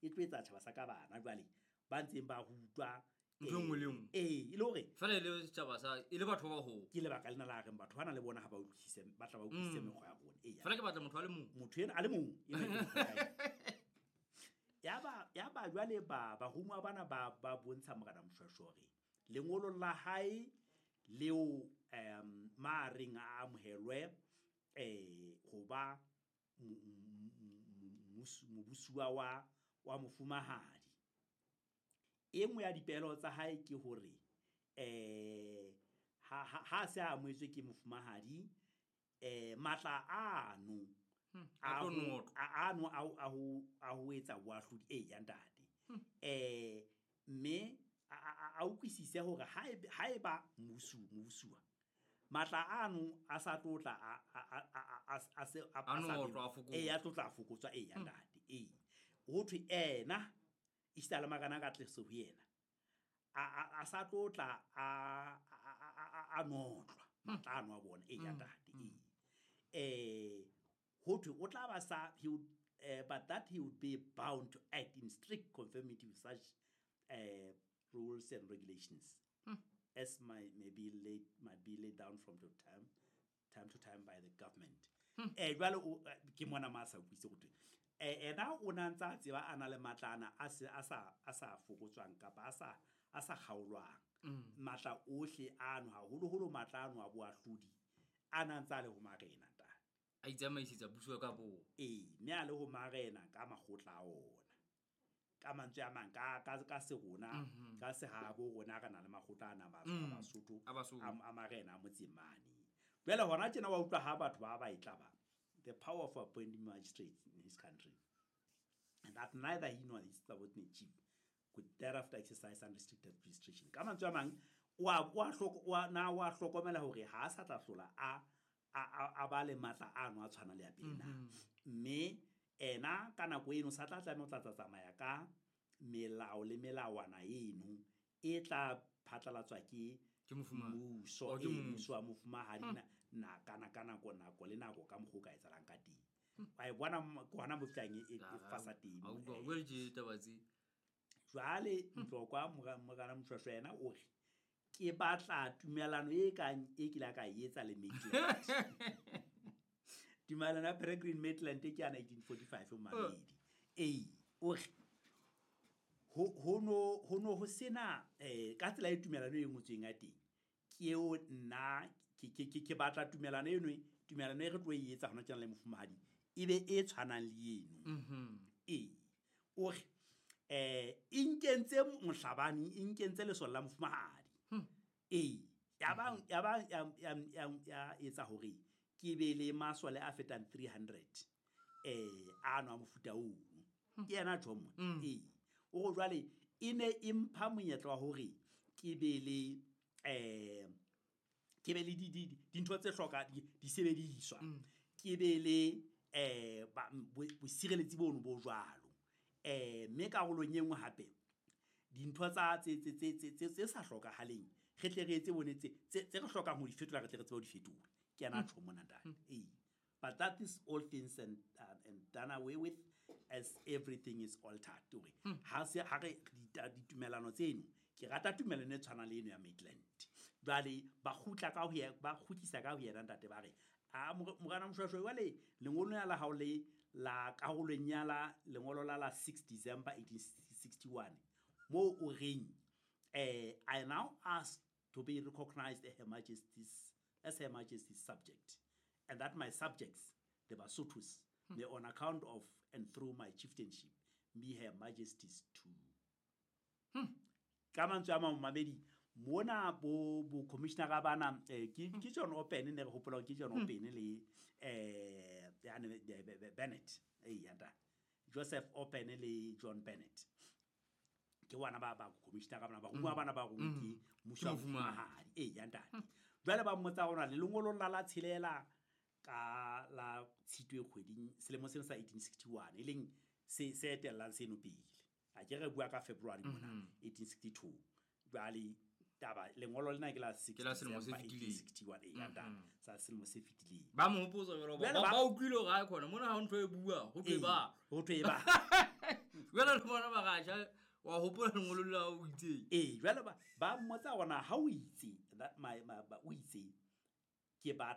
E tlo etsa tjhaba sa ka bana jwale ba ntseng ba rutwa Ntho e nngwe le e nngwe. Ee, e le hore Fela e le setjhaba sa e le batho ba baholo. Ke lebaka lena la reng batho bana le bona ha ba utlwisise, ba tla ba utlwisise mekgwa ya rona. Ee, Fela ke batla motho a le mong. Motho ena a le mong, ena ke mokgwa ya hae. Yaba jwale barumuwa bana ba bontsha Morena Moshoeshoe hore lengolo la hae leo ma reng a amohelwe ho ba mobusuwa wa mofumahadi. E nngwe ya dipehelo tsa hae ke hore ha se a amohetswe ke mofumahadi, matla ano A tlo notlwa. ano a ho etsa boahlodi, ee, ya ntate. Mme a utlwisise hore haeba mobusuwa matla ano a sa tlo tla a se a A sa notlwa, be- a fokotswa. Ee, a tlo tla a fokotswa, ee, ya ntate. Ee. Ho thwe ena, esita le marena a ka tleso ho yena, a sa tlo tla a notlwa, matla ano a bona, ee, ya ntate, ee. Ho thwe o tla ba sa, he would, but that he would be bound to act in strict conformity with such rules and regulations as might be laid down from time to time by the government. Jwale o, ke mona ma sa utlwisise ho thwe. Ena o na ntse a tseba a na le matla ana a se, a sa, a sa fokotswang kapa a sa, a sa kgaolwang. Matla ohle ano, haholoholo matla ano a boahlodi, a na ntse a le ho marena, ntate. A itsamaisetsa puso ka bo. Ee, mme a le ho marena ka makgotla a ona. Ka mantswe a mang, ka se rona, ka sehabo rona re na le makgotla ana a Basotho, A Basotho. a marena a motseng mane. Jwale hona tjena wa utlwa ha batho ba ba e tla ba, the power of appointing magistrates in his country, and that neither he nor his subordinate chief could thereafter exercise unrestricted jurisdiction. Ka mantswe a mang, na wa hlokomela hore ha a sa tla hlola a ba le matla ano a tshwana le ya pele na. Mme ena ka nako eno sa tla tlameha ho tla tsamaya ka melao le melawana eno e tla phatlalatswa ke Ke mofumahadi. mmuso, Oh, ke ee, mmuso. mmuso wa mofumahadi na, ka na, ka nako, nako le nako ka mokgwa o ka etsahalang ka teng. Wa e bona ke hona mo fihlang e Ah, fasa teng. a utlwa, o bua tje taba tse. Jwale Ntlokwa Morena Moshoeshoe yena o re, ke batla tumellano e kang e kile ka e etsa le Maitland. Tumellano ya Peregrine Maitland ke ya 1945 mamedi. Ee, o re, ho no ho sena, ka tsela e tumellano e ngotsweng ya teng, ke eo nna, ke batla tumellano eno, tumellano e re tlo e etsa hona tjena le mofumahadi, e be e tshwanang le eno. Ee, o re, e nkentse mohlabani, e nkentse lesole la mofumahadi. Ee, ya ba, ya ba, ya, ya, ya, ya etsa hore ke be le masole a fetang 300, ano a mofuta oo. Ke yena tjho mona. Ee, o re jwale e ne e mpha monyetla wa hore ke be le, ke be le di, di, di, dintho tse hloka, di, disebediswa. Ke be le, ba, bosireletsi bono bo jwalo. Mme karolong e nngwe hape, dintho tsa, tse, tse, tse, tse, tse, tse sa hlokahaleng, re tle re etse bone tse, tse, tse re hlokang ho di fetola, re tle re tsebe ho di fetola. Ke yena a tjho mona, ntate. Ee. But that is all things and done away with as everything is altered. Hore ha se, ha re ditumellano tseno, ke rata tumellano e tshwanang le eno ya Maitland. Jwale ba kgutla ka ho ye, ba kgutlisa ka ho yena ntate ba re, a, Morena Moshoeshoe, jwale lengolo lena la hao le la karolong ya la lengolo la la 6 December 1861, moo o reng, I now ask to be recognized as Her Majesty's, as Her Majesty's subject, and that my subjects, the Basothos, may on account of and through my chieftainship be Her Majesty's too. Ka mantswe a mang, mamedi, mona bo commissioner bana, ke John Open, ne re hopola hore ke John Open le, ya ne, be, be, be, Bennett. Eh, ya nta. Joseph Open le John Bennett. Ke bona ba commissioner bana, ba rongwa bana ba rongwe ke mmuso wa Ke mofumahadi. mofumahadi. Eh, ya ntate. Jwale ba mmotsa hore le lengolo la tshelela ka la Tshitwe kgweding selemo sena sa 1861, e leng se etellang seno pele. A ke re bua ka February mona, 1862. Jwale taba lengolo lena ke la six Ke la selemo se December fetileng. 1861, eh, ya ntate, sa selemo se fetileng. Ba mo hopotsa jwalo, Jwale ba ba utlwile hore ha e khona, mona ha ho ntho e bua, ho thwe Ee, ba. ho thwe ba. Jwale le bona ba raja wa hopola lengolo la o itseng. Ee, jwale ba mmotsa hore na ha o itse o itse ke batla.